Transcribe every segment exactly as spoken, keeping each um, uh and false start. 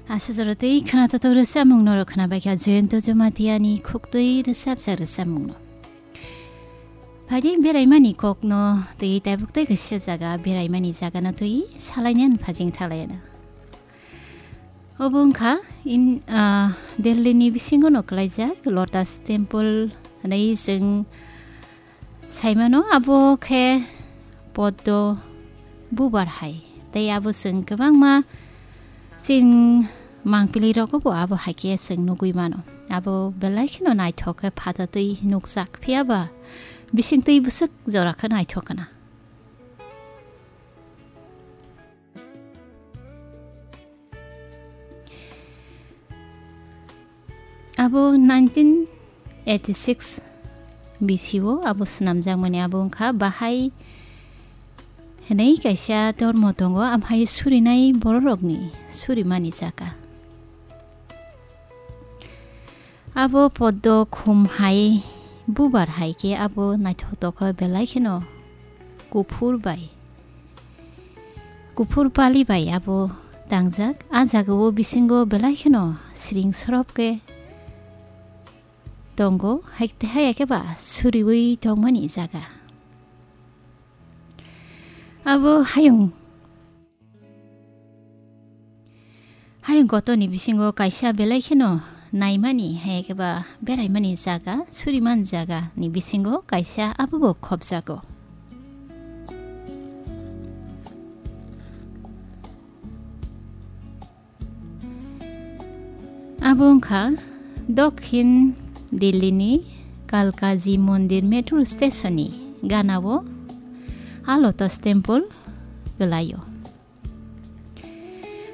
Aswk jora twi khwnathok rwchapmung norok khwnabaikha Jayanta Jamatia ni khuktwi rwchapjak rwchapmung no. Phaidi beraimani kok no twi taibuk tei kaisa jaga beraimani jaga no twi salainani phajing thalayano. Obo wngkha in, ah, Delhi ni bisingo no kwlaijak Lotus Temple hwnwi chwng saimano, abo khe Poddo bubar hai. Tei abo chwng kwbangma chini mangpili rogo bo abo hai khe chwng nugwi mano. Abo belai kheno naithok khe phatatwi nukjak, phiya ba bisingtwi bwswk jora khe naithok kana. Abo nineteen eighty six bisio abo swnamjakmani abo wngkha bahai hwnwi kaisa dormo tongo, amhai surinai bororokni surimani jaga. Abo poddo khum hai bubar hai khe abo naithotok khe belai kheno kuphur bai, kuphur pali bai abo tangjak. A jagao bisingo belai kheno siring sorop khe tongo, hai, hai khe ba suriwi tongmani jaga. Abo hayung, hayung gotoni bisingo kaisa belai kheno naimani, hai khe ba beraimani jaga, surimani jaga ni bisingo kaisa abo bo khopjago. Abo wngkha Dokhin Delhi ni Kalkaji Mondir metro station ni ganao a Lotus Temple kwlaio.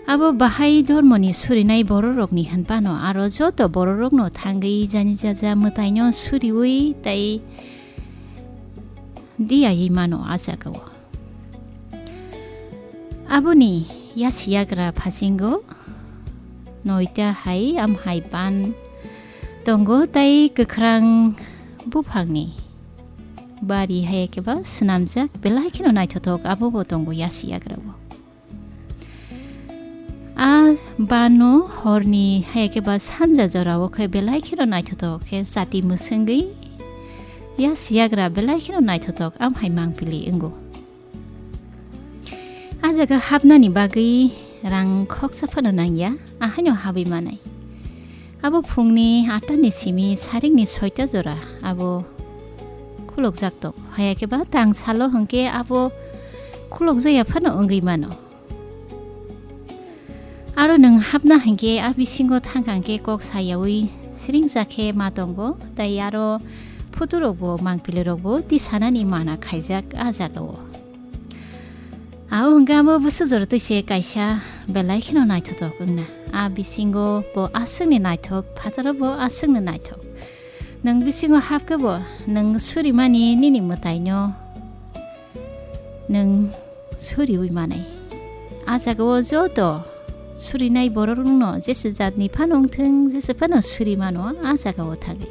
Abo bahai dormo ni surinai bororok ni hinphano aro joto bororok no thangwi jani jaja mwtai no suriwi tei diyaiwi mano a jagao. Aboni yasiyagra phasingo noita hai amhai ban tongo tei kwkhrang buphangni bari hai khe ba swnamjak belai kheno naithothok abo bo tongo yasiyagra o. A bano horni hai khe ba sanja jorao khe belai kheno naithothok khe chati mwswngwi yasiyagra belai kheno naithothok amhai mangpili wngo. A jaga hapnani bagwi rang khoksa phano nangya, ahaino habwi manai. Abo phungni atta ni simi saringni soita jora abo khulokjak tong. Haya khe ba tang salo hwnkhe abo khulokjakya phano wngwi mano. Aro nwng hapna hinkhe a bisingo thangkha hinkhe kok sayaui siringjak khe ma tongo, tei aro phuturokbo mangpilirokbo tisanani mana khaijak a jagao. Ao hwnkhe amo bwswk jora twi se kaisa belai kheno naithothok wngna. A bisingo bo aswkni naithok, phataro bo aswkni naithok. Nwng bisingo hapkhe bo nwng surimani nini mwtaino nwng suriui manai. A jagao joto surinai bororokno jesa jatni phano wngthung, jesa phano suri mano a jagao thangwi.